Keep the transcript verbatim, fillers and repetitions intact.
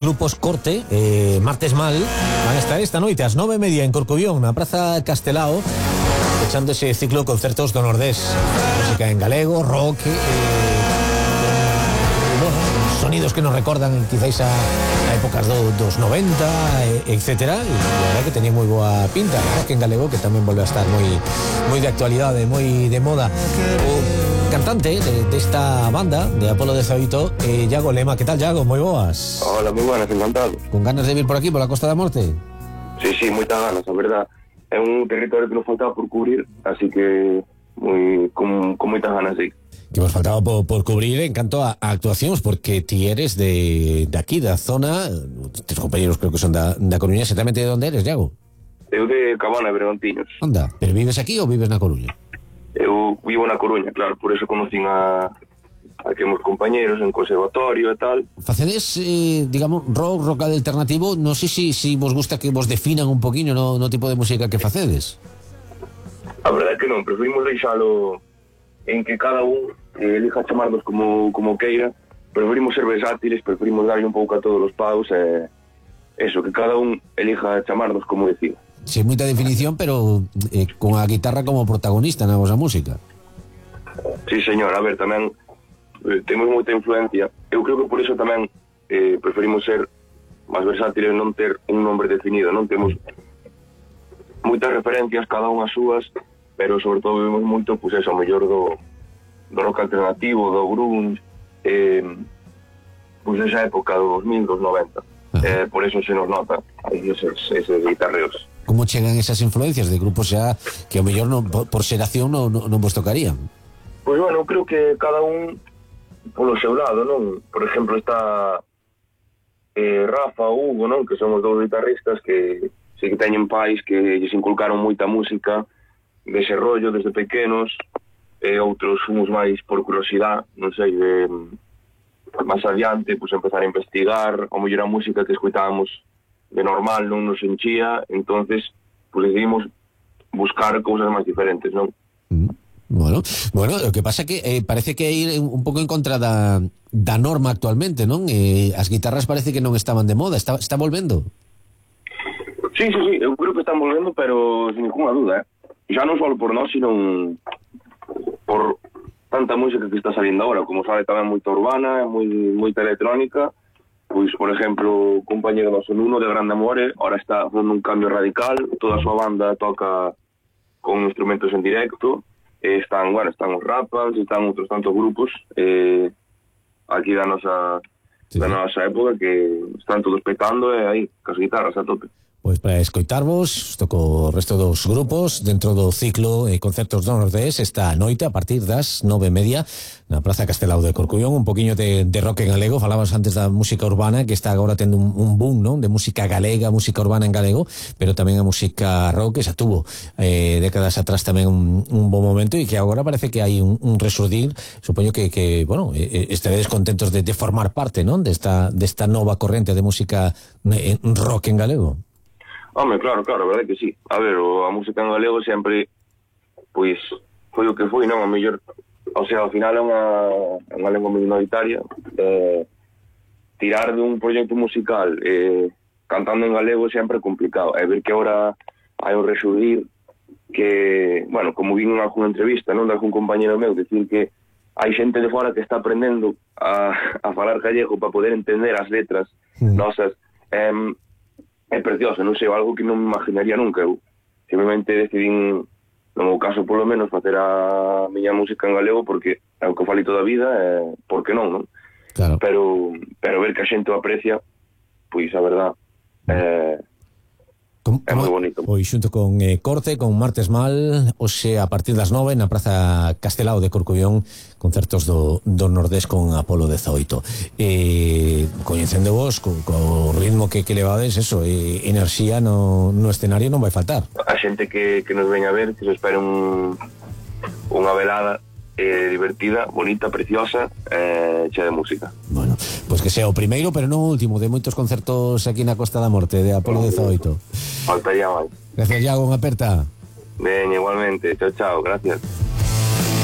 Grupos Corte, eh, Martes Mal, van a estar esta noite ás nove e media en Corcubión, na Praza Castelao, echando ese ciclo de concertos do Nordés. Música en galego, rock, eh, bueno, sonidos que nos recordan quizáis a, a épocas do, dos noventa, eh, etcétera. E a verdade que tenía moi boa pinta, rock en galego, que tamén volve a estar moi moi de actualidade, moi de moda. O cantante de, de esta banda de Apolo dezoito, eh, Iago Lema. Que tal, Iago? Moi boas. Hola, moi buenas, encantado. Con ganas de vir por aquí, por la Costa da Morte? Sí, sí, moitas ganas, a verdad. É un territorio que nos faltaba por cubrir, así que moi, con, con moitas ganas, sí. Que vos faltaba por, por cubrir en canto a, a actuacións, porque ti eres de, de aquí, da zona, tes compañeros creo que son da, da Coruña. Exactamente de onde eres, Iago? Eu de Cabana, Bergantiños. Anda, pero vives aquí ou vives na Coruña? Eu vivo na Coruña, claro, por eso conocín a, a que meus compañeros en conservatorio e tal. Facedes, eh, digamos, rock, rock alternativo. Non sei se si, si vos gusta que vos definan un poquinho no, no tipo de música que facedes. A verdade é que non, preferimos deixalo en que cada un eh, elija chamarnos como, como queira. Preferimos ser versátiles, preferimos darle un pouco a todos os paus e eh, eso, que cada un elija chamarnos como decida. Sin moita definición, pero eh, con a guitarra como protagonista na vosa música. Sí, señor, a ver, tamén eh, temos moita influencia. Eu creo que por iso tamén eh, preferimos ser máis versátiles, non ter un nombre definido, non temos moitas referencias, cada unha súas, pero sobre todo vemos moito, pois pues eso, o mellor do, do rock alternativo, do grunge, eh, pois pues esa época do dos mil, dos noventa. Eh, por eso se nos nota aí esos, esos guitarreos. Como chegan esas influencias de grupos xa que ao mellor non, por xeración non, non, non vos tocarían? Pois pues bueno, creo que cada un polo seu lado, non? Por exemplo, está eh, Rafa, Hugo, non? Que son os dous guitarristas que sí que teñen pais que lles inculcaron moita música dese rollo desde pequenos, e outros fomos máis por curiosidade, non sei, de máis adiante, pois pues, empezar a investigar, ao mellor a música que escutábamos de normal non nos enchía, entonces pues decidimos buscar cousas máis diferentes, non? Mm. Bueno, bueno, o que pasa que eh, parece que ir un pouco en contra da, da norma actualmente, non? Eh, as guitarras parece que non estaban de moda, está, está volvendo. Sí, sí, sí, eu creo que están volvendo, pero sin ninguna duda, eh? Xa non só por nós, sino por tanta música que está saliendo agora, como sabe tamén moita urbana, moi, moita electrónica. Pois, por exemplo, o compañero noso Nuno de Grande Amore ahora está facendo un cambio radical, toda a súa banda toca con instrumentos en directo, e están, bueno, están os Rapas, están outros tantos grupos eh, aquí da nosa, sí, da nosa época que están todos petando e aí, cas guitarras a tope. Pois para escoitarvos, toco o resto dos grupos dentro do ciclo eh, Concertos do Nordés esta noite a partir das nove e media na Praza Castelao de Corcubión. Un poquinho de, de rock en galego. Falabas antes da música urbana, que está agora tendo un, un boom, non? De música galega, música urbana en galego, pero tamén a música rock, que xa tuvo eh, décadas atrás tamén un, un bom momento, e que agora parece que hai un, un resurdir. Supoño que, que bueno, eh, estaredes contentos de, de formar parte, non? Desta, desta nova corrente de música eh, rock en galego. Home, claro, claro, a verdade que sí. A ver, o, a música en galego sempre, pois, foi o que foi, non? A mellor, o sea, ao final é unha, unha lengua minoritaria. Eh, tirar de un proxecto musical eh, cantando en galego sempre é complicado. É ver que agora hai un resurgir que, bueno, como vi en alguna entrevista, non, de algún compañero meu, decir que hai xente de fora que está aprendendo a, a falar gallego para poder entender as letras mm. nosas. Eh, é precioso, non sei, algo que non me imaginaría nunca. Eu simplemente decidín, no meu caso polo menos, facer a miña música en galego porque é o que falei toda a vida, e por que non, non? Claro. Pero, pero ver que a xente o aprecia, pois a verdad é, Com, é moi bonito. Pois xunto con eh, Corte, con Martes Mal, hoxe a partir das nove na Praza Castelao de Corcubión, concertos do, do Nordés con Apolo dezoito. Eh, coñecendo vos, co, co ritmo que, que levades, eso, eh, enerxía no, no escenario non vai faltar. A xente que, que nos veña a ver, que se espere un, unha velada eh, divertida, bonita, preciosa, eh, chea de música. Bueno, pois pues que sea o primeiro, pero non o último, de moitos concertos aquí na Costa da Morte, de Apolo dezoito. Faltaría máis. Gracias, Iago, unha aperta. Ben, igualmente. Chao, chao, gracias.